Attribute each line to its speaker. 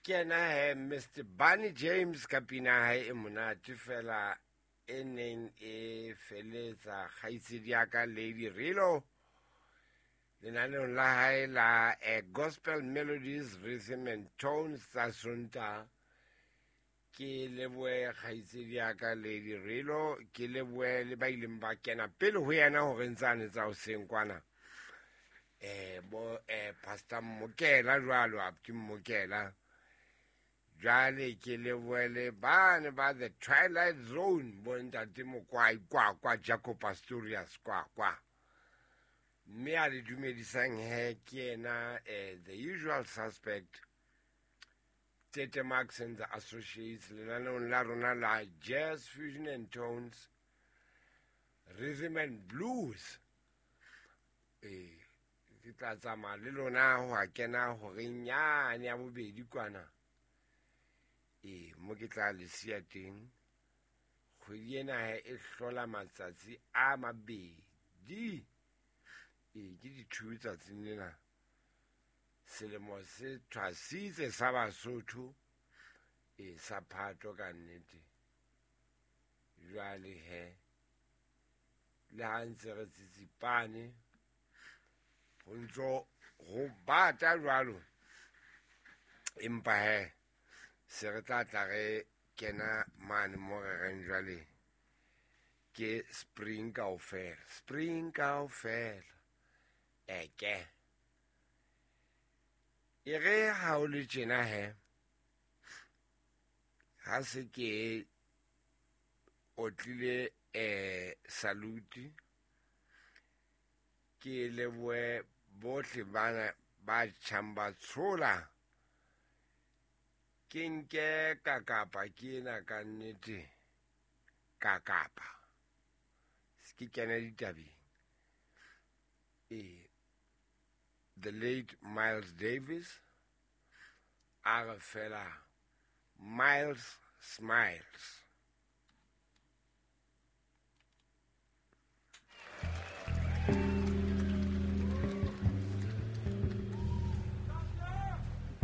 Speaker 1: Ke yena he Mr Barney James ka pina ya hae e monate fela e neng e feletsa kgaitsedi ya ka Lady Rilo lenaneong la hae la Gospel Melodies Rhythm and Tones tsa Sontaha. Ke lebohe kgaitsedi ya ka Lady Rilo, ke lebohe le ba ileng ba kena pele ho yena hore ntsane tsa hoseng kwana. Bo Pastor Mmokela jwalo, Abuti Mmokela. Jwale ke lebohe le bane ba The Twilight Zone, bo ntate Mokwai kwa kwa Jaco Pastorius kwa kwa. Mme a le dumedisang he ke yena the usual suspect Tete Marks and the Associates lenaneong la rona la Jazz Fusion and Tones Rhythm and Blues. Ke tla tsamaya le lona ho a kena horeng yane ya bobedi kwana. Mo ke tla le siya teng. Kgwedi ena e hlola matsatsi a mabedi. Ke di-2 tsatsing lena. Selemo se thwasitse sa Basotho, sa Phato ka nnete. Jwale he, le ha ntse re tsitsipane, ho ntso ho bata jwalo. Empa he, se re tla tla re kena mane mo re reng jwale ke spring kaofela. Spring kaofela. Eke. E re ha o le tjena he, ha se ke otlile salute, ke lebohe bohle bana ba tjhang ba tshola. Ke nke ka kapa ke ena ka nnete ka kapa. Se ke kena ditabeng. The late Miles Davis, a re fela Miles Smiles.